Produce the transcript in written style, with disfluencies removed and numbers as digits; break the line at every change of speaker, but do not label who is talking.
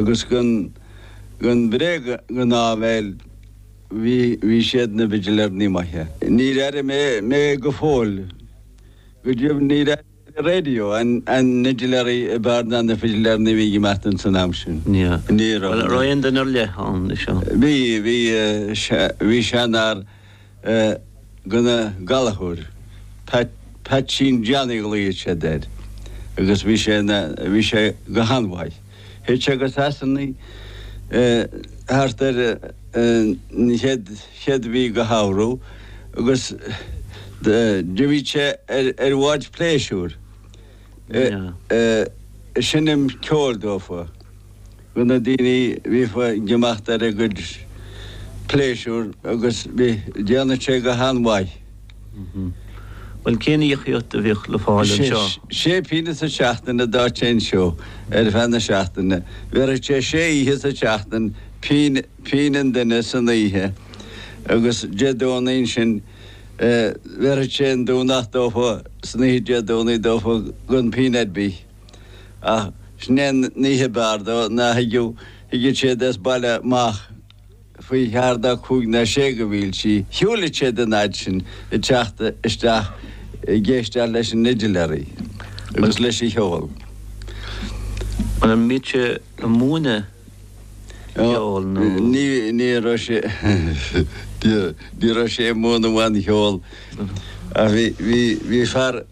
Agus gan gan bhréag gan áibhéil bhí bhí siad na bhfidiléireannaí maithe. Níor airigh mé mé go fóill go deimhin níor airigh an raidió an an fhidiléirí ab fhearr ná na fidiléireannaí a bhí ag imeacht ins an am sin.
Ní raibh. Bhuel, an raibh aon duine ar leith ann leis seo?
Bhí bhí bhí seanfhear gona Gallchóir, Peaitsín Johnny a ghlaoigh siad air, agus bhí sé ina, bhí sé go han-mhaith. Théadh sé go Sasana thart ar an chéad, chéad mhí go shamhradh agus d'imíodh sé ar, ar bháid pléisiúir ag seinm ceoil dófa. Do na daoine a bhíodh ag imeacht ar a gcuid pléisiúr agus bhí, déanadh sé go han-mhaith.
Bhuel, cén íocaíocht a bhíodh le fáil anseo?
Sé pingine sa tseachtain a d'fhaigheadh sé anseo ar feadh na seachtaine. Bhéarfadh sé sé oíche sa tseachtain, pingin, pingin an duine san oíche agus Dé Domhnaigh ansin bhéarfadh sé an Domhnach dófa, san oíche Dé Domhnaigh dófa gan pingin ar bith. Ach sin é an oíche ab fhearr dó ná thigeadh, thigeadh siad as baile amach faoi cheathair dá cúig ná sé go mhílsí. Shiúileadh siad an fhad sin ag teacht isteach ag éisteacht leis an fhidiléirí agus leis an cheol.
An mbíodh sé ag múineadh ceoil nó?
Ní, ní raibh sé, ní raibh sé ag múineadh aon cheol ach bhí, bhí, bhí fear.